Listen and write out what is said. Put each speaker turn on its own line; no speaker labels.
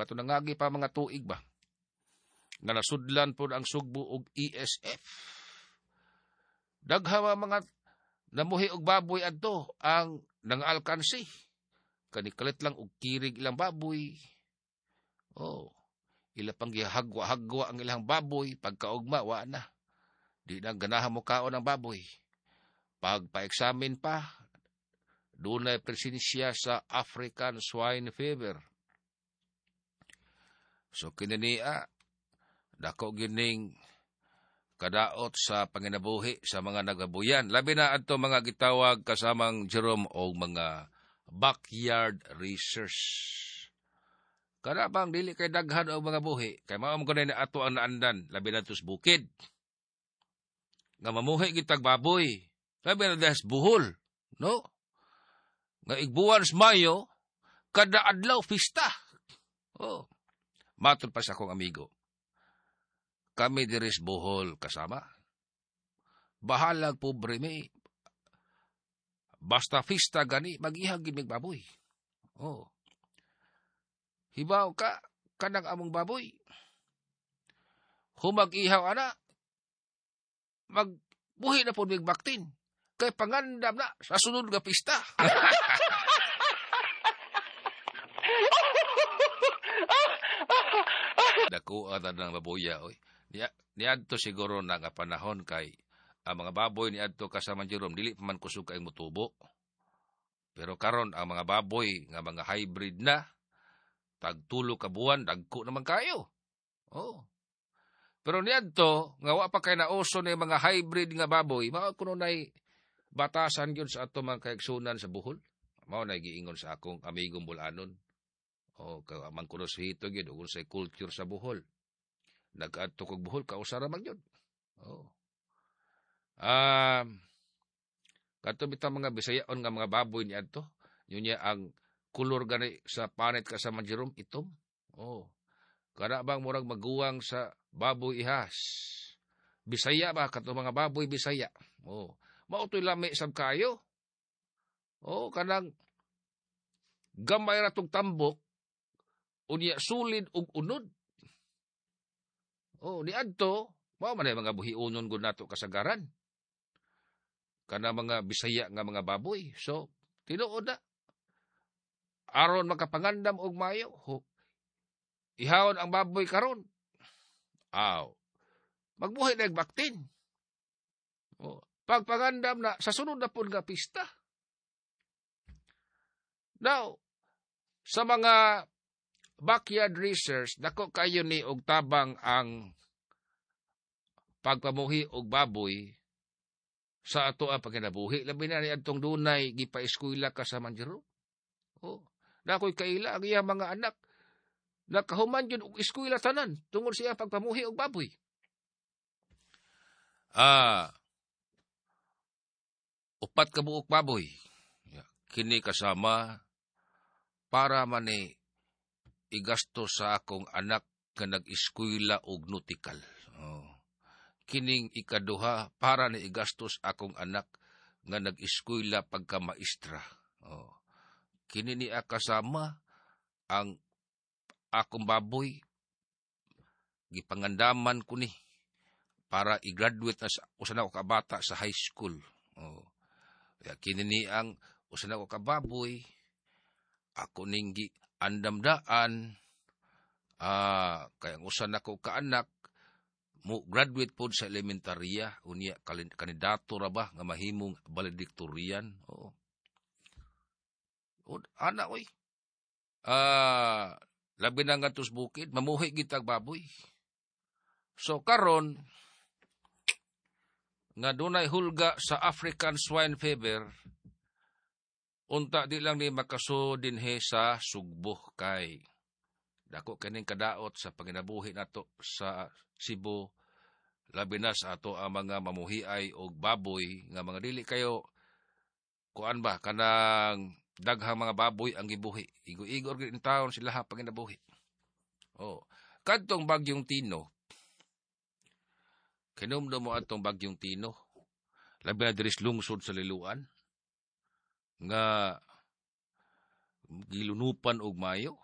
Kato nangagi pa mga tuig ba nga nasudlan pod ang Sugbo og ESF. Daghan mga namuhi og baboy adto ang nangaalkansi. Kani kalit lang og kirig ilang baboy. Oh, ila pang gihagwa-hagwa ang ilang baboy, pagkaugma wa na. Di na ganahan mo kaon ang baboy. Pag pa-examine pa, dunay presensya sa African Swine Fever. So kininiya, dako gining kadaot sa panginabuhi sa mga nagabuyan. Labi na adto mga gitawag kasamang Jerome o mga backyard racers. Kana bang dili kay daghan og mga buhi, kay mao man kuno ato ang naandan, labi na sa bukid. Nga mamuhi gitag baboy, labi na sa Bohol, no? Nga igbuwan sa Mayo, kada adlaw pista. Oh. Matod pa sa akong amigo. Kami diris Bohol kasama. Bahalag pobre mi. Basta pista gani, mag-ihag gid baboy. Oh. Hibaw ka, kanang among baboy. Humag ihaw ana, magbuhi na po mig baktin. Kay pangandam na sa sunod nga pista. Dako ata ng baboya, oy. Niadto siguro na nga panahon kay ang mga baboy niadto kasama Jerome dili pa man kusog kay mutubo. Pero karon ang mga baboy nga mga hybrid na tagtulo ka buwan dagko naman kayo. Oh. Pero niadto nga wa pa kay nauso ni mga hybrid nga baboy, mao kuno nay batasan gyud sa ato mga kaigsunan sa Bohol. Mao nay giingon sa akong amigong Bulanon. O kay man kuno sa hito gyud ug sa culture sa Bohol. Nag-adto kog Bohol, kausara man gyud. Oh. Kadto bitang mga Bisayaon nga mga baboy niadto, yun niya ang kulor gani sa panit kasama Jerome itom. Oh. Kana bang murag maguwang sa baboy ihas. Bisaya ba kadto mga baboy Bisaya? Oh. Mao to'y lami sab kayo. Oh, kanang gamay ra tong tambok unya sulid og unod. Oh, niadto mao man ay mga buhiunon gud nato kasagaran. Kana mga Bisaya nga mga baboy. So, tinuod na. Aron makapangandam og mayo, ihawon ang baboy karon. Aw. Magbuhi na baktin. Oh, pagpangandam na sa sunod na pud nga pista. Now, sa mga backyard racers, dako kayo ni og tabang ang pagpamuhi og baboy sa ato ang pagkinabuhi. Labi na ni adtong dunay gipa-eskwela ka sa Manjero. Oh, nakoy kaila ang iyang mga anak. Nakahuman yun og eskwela tanan tungod siya pagpamuhi og baboy. Upat ka buok baboy. Kini kasama para man ni igasto sa akong anak nga nag-eskwela og nautical. Oh. Kining ikaduha para ni igastos akong anak nga nag-eskwela pagka-maestra. Oh. Kini ni kasama ang akong baboy gipangandaman ko ni para i-graduate na sa usa na ko ka bata sa high school. Oh. Kaya kini ni ang usa na ko ka baboy ako ning andamdaan kay ang usa na ko ka anak mo graduate pod sa elementarya unya kandidato ra ba nga mahimong valedictorian. Oo. O, ana oy. Labi na nga tos bukid mamuhi gitag baboy. So karon nga dunay hulga sa African Swine Fever, unta di lang ni makaso dinhe sa Sugbo kay dako kining kadaot sa panginabuhi nato sa Cebu, labi na sa ato ang mga mamuhiay og baboy nga mga dili kayo kuan ba kanang daghang mga baboy ang gibuhi. Igo-igo gyud in taon sila ha panginabuhi. Oh, kadtong bagyong Tino. Kinumdum mo atong bagyong Tino. Labi na diri sa lungsod sa Liloan nga gilunupan og mayo.